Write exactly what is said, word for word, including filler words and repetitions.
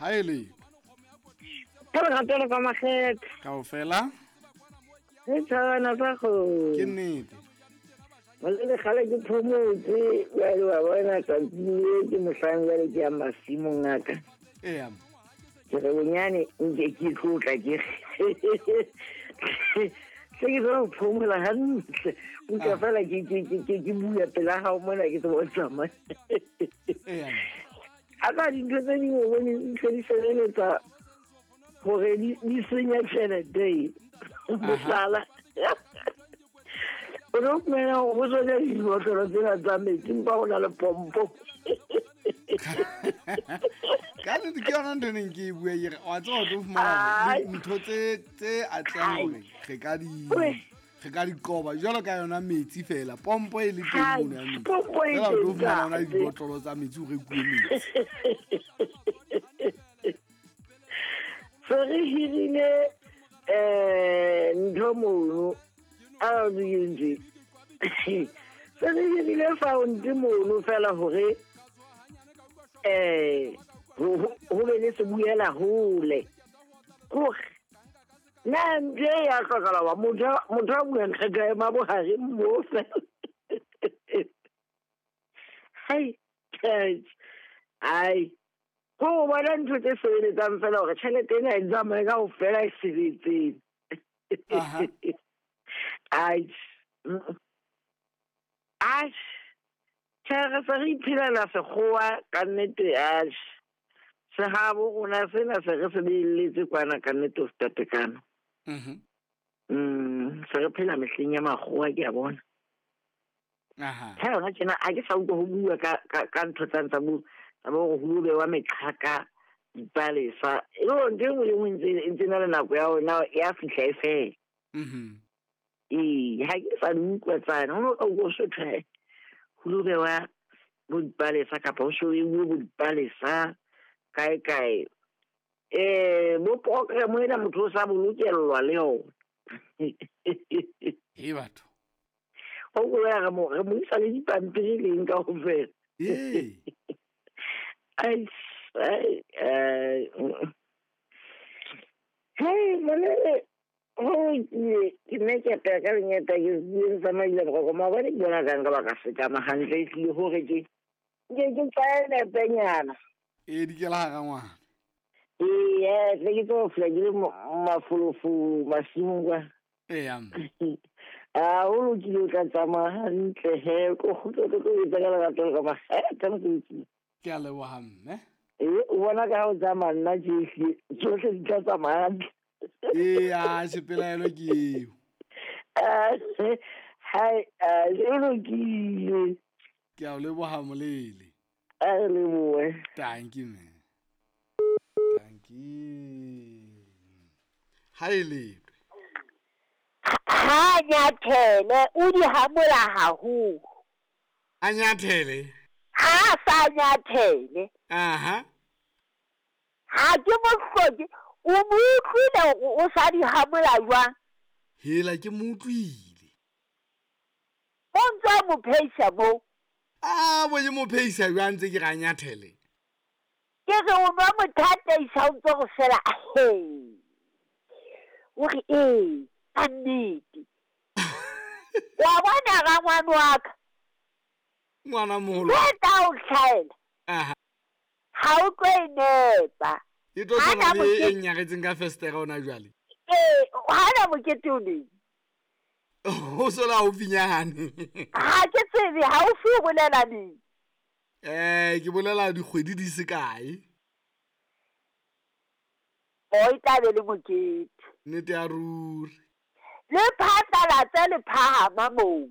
Ha e le Ka lerato le ka makgethe. Kaofela. Re tshwana sa go. Ke nnete. Molele kgale ke phomotse, jwale wa bona tsatsi le ke mohlang jwale ke ya masimong a ka. Eya. Ke re bonyane nke ke tlotla ke se ke tswa ho phomola hantle. Utlwa Ah. fela ke ke ke ke ke bua pela hao mona ke tseba ho tsamaya. Eya. A ka dintho tse ding o bone di ntse di sebeletsa hore di di senya tjhelete e. Mohlala. O no fumana hore ho tsona dibotlolo tsena tsa metsi empa ho na le pompo. Ka nnete ke yona ntho e neng ke e bua ke re, wa tseba o tlo fumana Ai. ntho tse tse atlehang hore re ka di Oi. re ka di qoba jwalo ka yona metsi fela, pompo e le teng Hai, mono ya metsi. pompo e Fela o tlo teng fumana hona ntate. dibotlolo tsa metsi ho rekuwe metsi. Se re hirile eh ntho mono a re ntse. Se re hirile fountain mono fela hore eh ho ho- ho be le se buela hole. Hore na ntho e ya hlokahala hoba motho a- motho a buang re ka ema bohareng moo fela. Hai, guys. Ai. Ko bona ntho tse sebeletsang fela hore tjhelete ena e tsamaye kaofela e sebetseng. Aha. Ai. Mm. Ai. Tjhe, re se re iphelela sekgowa ka nnete, ai. Sehabo rona sena se re se beelletse kwana ka nnete ho feta tekano. Mhm. Mm, se re phela mehleng ya makgowa ke a bona. Aha. Ha yona tjena ha ke sa utlwa ho bua ka ka ka ntho tsa tsa bo tsa bo hore ho bewa meqhaka dipalesa. E le hore ntho e nngwe le e nngwe e ntse e ntse na le nako ya yona ya fihla e fela. Mhm. Ee, ha ke sa di utlwa tsane. Ho no ka utlwa ho so thwe ho lo bewa bo dipalesa kapa ho so beuwe bo dipalesa kae kae. Eh, bo program ena motho o sa bolokellwa le yona. He batho. O ko ya re mo re mo isa le dipampiri leng kaofela. Ee. Ai, ai, ai. Hey, molele, ho ke ke ne ke apea ka lengeta ke ke tsamaile boroko maobane ke bona ka nka ba ka sekama hantle e tlile hore ke ke ke tsaye nepenyana. Ee, di kela hara ngwana. Ee, tle ke tlo fihla ke le mo- mafolofolo masimong kwa. Eya. Ah, ho lokile o tla tsamaya hantle he, ko kgutle o tlo etsa ka lerato le ka makgethe mosebetsing. Ke a leboha mme. Ee, o bona ka ha o tsamaya nna tje ehlile, tsohle di tla tsamaya hantle. Ee, a se pelaelo ke eo. Ah, hai, ah, e lokile. Ke a o leboha molele. A re lebohe. Thank you, man. Thank you. Ha e le. Ha nyathele o di hamola haholo. A nyathele? Ha sa nyathele. Aha. Ha ke mo hloke, o mo utlwile hore o sa di hamola jwang? Hela ke mo utlwile. O ntse o mo pheisa moo. Ah, bo ke mo pheisa jwang ntse ke re a nyathele? Ke re o nwa mothateisa o ntse o re fela, he. O re, ee, ka nnete. Wa bona rangwane wa ka? Ngwana moholo. Ke tla o tlhaela. Aha. Ha o tlo e nepa. E tlo Ha tshwana na le e mokete- nyaretseng ka festere hona jwale. Ee, ha na mokete o neng? O so le haufinyane. Ha ke tsebe, haufi o bolela neng? Eh, ke bolela dikgwedi di se kae. O e tla be le mokete. Nnete ya ruri. Le phatlalatse le phahama moo.